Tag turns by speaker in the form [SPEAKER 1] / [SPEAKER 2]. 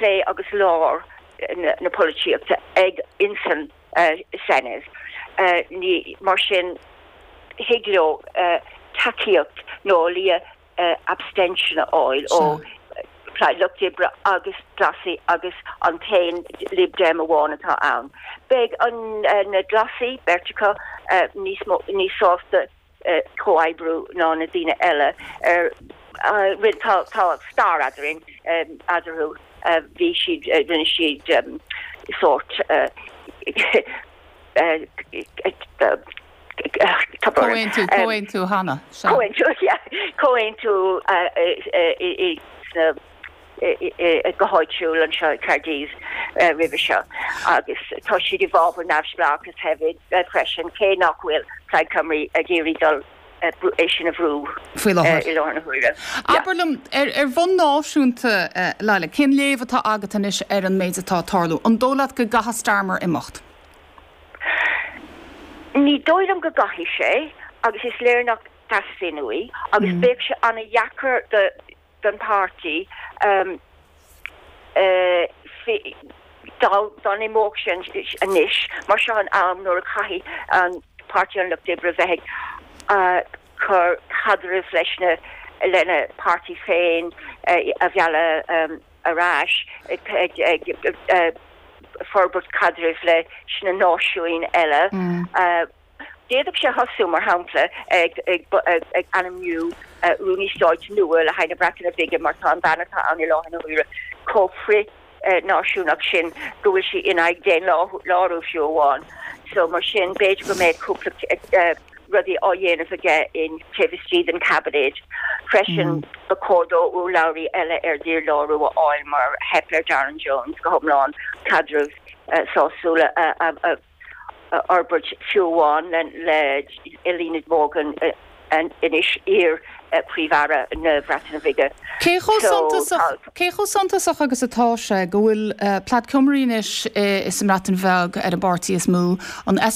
[SPEAKER 1] Clé agus lár na polaitíochta ag insan Senedd. Ní mar sin thig leo tacaíocht nó a laghad abstention a fháil ó Plaid Lucht Oibre agus Glasaigh agus an t-aon Lib Dem amháin atá ann. Beidh an na Glasaigh, beirt acu, níos mó níos sásta comhoibriú ná na daoine eile ar tá tá stair eadrainn eadarthu bhí siad rinne siad sórt
[SPEAKER 2] Comhaontú, comhaontú cheana,
[SPEAKER 1] sea. Comhaontú, yeah. Comhaontú i sna go háitiúil anseo i Caerdydd roimhe seo agus tá siad i bhfabhar neamhspleáchas hefyd freisin, cé nach bhfuil Plaid Cymru ag iarraidh dul é sin a bhrú
[SPEAKER 2] Faoi láthair.
[SPEAKER 1] i láthair na huaire.
[SPEAKER 2] Abair liom, ar ar bhonn náisiúnta, Laila, cén léamh atá agat anois ar an méid atá ag tarlú? An dóigh leat go gcaithfidh Starmer imeacht?
[SPEAKER 1] Ní dóigh liom go gcaithfidh sé agus is léir nach dteastaíonn uaidh agus bheadh sé an-dheacair do don páirtí dá n-imeodh sé anois mar seo an am nuair a chaithfidh an Páirtí an Lucht Oibre bheith ag cur caidrimh leis na lena páirtí féin a mhealladh ar ais ag forbairt caidrimh leis na náisiúin eile. D'fhéadfadh sé thosú, mar shampla, ag ainmniú Rúnaí Stáit nua le haghaidh na Breataine Bige mar tá an bhean atá ann i láthair na huaire chomh frith-náisiúnach sin go bhfuil sí in aghaidh daonlárú fiú amháin. So mar sin, b'fhéidir go mbeadh cúpla rudaí á dhéanamh aige in taobh istigh den Cabinet. Freisin, ba chóir dó urlabhraí eile ar dhílárú a fháil mar theip ar Darren Jones go hiomlán caidreamh sásúil a a fhorbairt fiú amháin le Eluned Morgan anois iar-Phríomh-Aire na Breataine Bige.
[SPEAKER 2] Cé chomh suntasach, cé chomh suntasach agus atá sé go bhfuil Plaid Cymru anois sa mBreatain Bheag ar an bpáirtí is mó, an?